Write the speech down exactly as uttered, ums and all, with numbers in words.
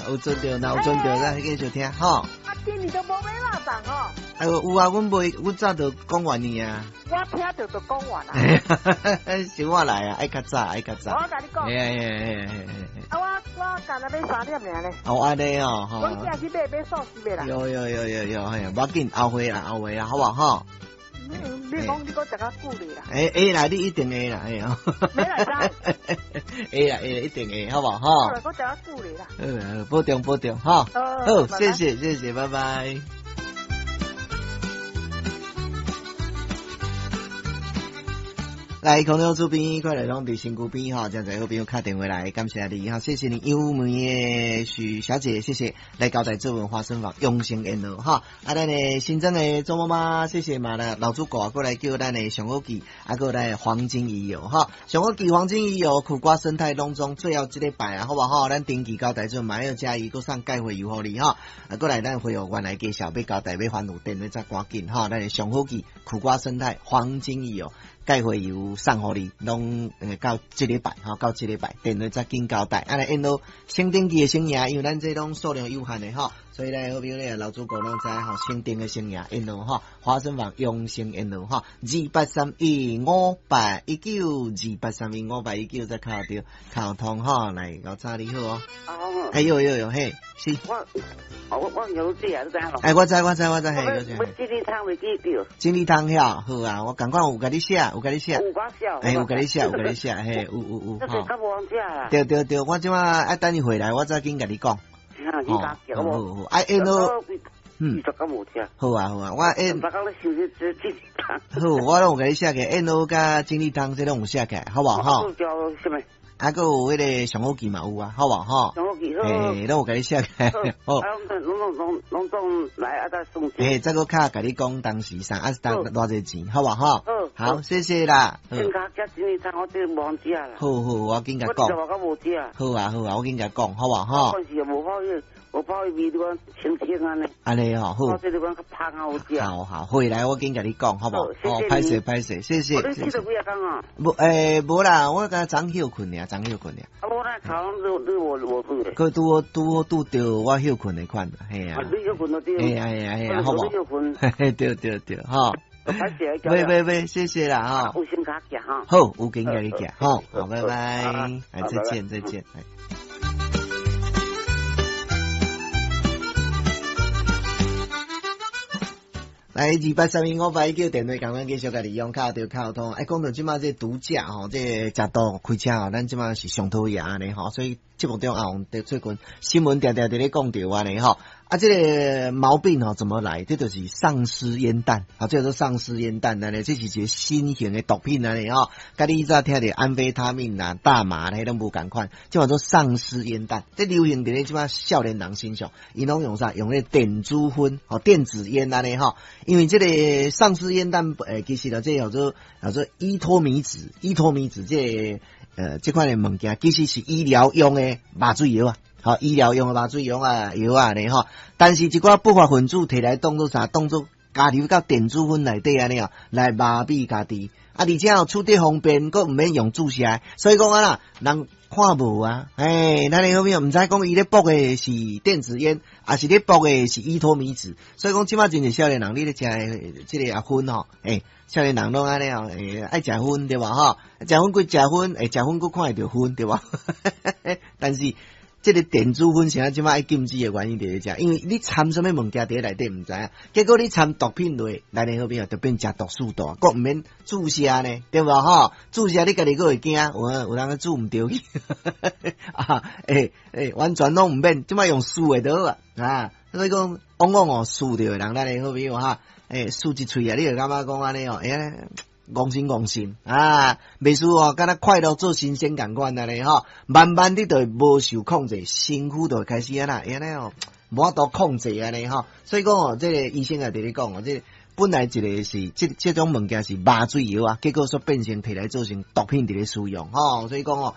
有存著，若有存著，咱繼續聽吼。啊，今年都無買肉粽哦。哎，有啊，阮袂，阮早就講完呢啊。我聽著就講完啦。想我來啊，愛較早，愛較早。我共你講。嘿嘿嘿嘿嘿。啊，我我干焦買三點爾咧。哦，按呢哦，吼。阮囝去買買素食的啦。有有有有有，嘿，無要緊，後回啦，後回啦，好無吼？你講你閣食較久咧啦？會會啦，你一定會啦，會哦。沒來知。會啦會，一定會，好無吼？閣食較久咧啦。嗯，保重保重，哈。好，謝謝謝謝，拜拜。來，空中主編，快來攏佇身軀邊吼，真濟好朋友敲電話來，感謝你哈，謝謝你優美的許小姐，謝謝來交代做文花生房用心緣路哈。啊，咱的新增的周媽媽，謝謝嘛啦，老主顧過來叫咱的上好記，啊，閣來黃金魚油哈，上好記黃金魚油，苦瓜生態攏總最後這禮拜啊，好無吼？咱定期交代做嘛要加伊，閣送鈣花油予你哈。啊，閣來咱會有原來介紹欲交代欲還有電話再趕緊哈，咱的上好記苦瓜生態黃金魚油。鈣花油送予你，攏到這禮拜吼，到這禮拜電話再緊交代。啊，來因落先登記的先贏，因為咱這攏數量有限的吼，所以咧好朋友咧老主顧攏知吼，先訂的先贏，因落吼，華生房用心緣路吼，二八三一五八一九，二八三一五八一九再敲著溝通吼，來老早你好哦。哎呦呦呦嘿，是。我我我有這啊，你知影哎，我知我知我知，嘿，我錦鯉湯袂記著。錦鯉湯遐好啊，我共款有共你寫，有共你寫。有共寫。哎，有共你寫，有共你寫，嘿，有有有。這較無通食啦。對對對，我這馬愛等伊回來，我再緊共你講。好，好好，啊，因落，嗯，好啊好啊，我因。好，我攏有共你寫起，因落佮錦鯉湯這攏有寫起，好無吼？啊，閣有彼个上好記嘛有啊，好無吼？上好記好。嘿，攏有共你寫起來。好。啊，攏攏攏攏總來啊，再送。嘿，再閣較共你講當時啥，啊是當偌濟錢，好無吼？好。好，謝謝啦。先較食錦鯉湯，我這無通食啦。好好，我緊共講。我我無食。好啊好啊，我緊共講，好無吼？嗰時又無泡伊，無泡伊味，你講清清按呢。按呢吼，好。我這個講較芳好食。好好，回來我緊共你講，好無？好，歹勢歹勢，謝謝。你去了幾啊工啊？無，欸，無啦，我敢早歇睏爾，早歇睏爾。啊，無咱頭你你無無拄咧？閣拄好拄好拄著我歇睏的款，嘿啊。你歇睏就對。嘿啊嘿啊嘿啊，好無？你歇睏。嘿，對對對，吼。歹勢，袂袂袂，謝謝啦，吼。有先共寄哈。好，有緊共你寄，好，好，拜拜，哎，再見再見。來，二八三一五八一九電話，共阮繼續共利用敲著溝通。哎，講到這馬這毒駕吼，這食毒開車吼，咱這馬是上討厭按呢吼，所以節目中也有最近新聞定定佇咧講著按呢吼。啊，這個毛病吼怎麼來？這就是喪屍煙彈，啊，這叫做喪屍煙彈按呢，這是一個新型的毒品按呢吼。佮你以前聽著安非他命啦、大麻彼攏無仝款，這叫做喪屍煙彈。這流行佇咧這馬少年人身上，𪜶攏用啥？用彼電子薰，吼，電子煙按呢吼。因為這個喪屍煙彈，欸，其實啦，這叫做叫做依托咪酯，依托咪酯這個呃這款的物件，其實是醫療用的麻醉藥啊，吼，醫療用的麻醉藥啊藥啊呢吼。但是一寡不法分子提來當做啥？當做加入到電子薰內底按呢哦，來麻痹家己。啊，而且哦，取得方便，閣毋免用注射，所以講啊啦，人看無啊，欸，咱的好朋友毋知講伊咧爆的是電子煙，抑是咧爆的是依托咪酯，所以講這馬真濟少年人，你咧食的這個啊薰吼，欸，少年人攏按呢哦，欸，愛食薰對無吼？食薰閣食薰，欸，食薰閣看會著薰對無？但是這個電子薰啥這馬愛禁止的原因佇咧遮，因為你摻啥物物件佇咧內底毋知影，結果你摻毒品落，咱的好朋友就變食毒素大，閣毋免注射呢，對無吼？注射你家己閣會驚，有有人注毋著去，啊，欸欸，完全攏毋免，這馬用吸的就好啊，啊，所以講往往哦，吸著的人，咱的好朋友哈，欸，吸一喙啊，你就感覺講按呢哦，欸。戇心戇心啊，袂輸哦，敢若快樂做神仙仝款按呢吼，慢慢你就會無受控制，身軀就會開始按怎，按呢哦，無法度控制按呢吼。所以講哦，這個醫生也佇咧講哦，這個本來一個是這這種物件是麻醉藥啊，結果煞變成提來做成毒品佇咧使用吼。所以講哦。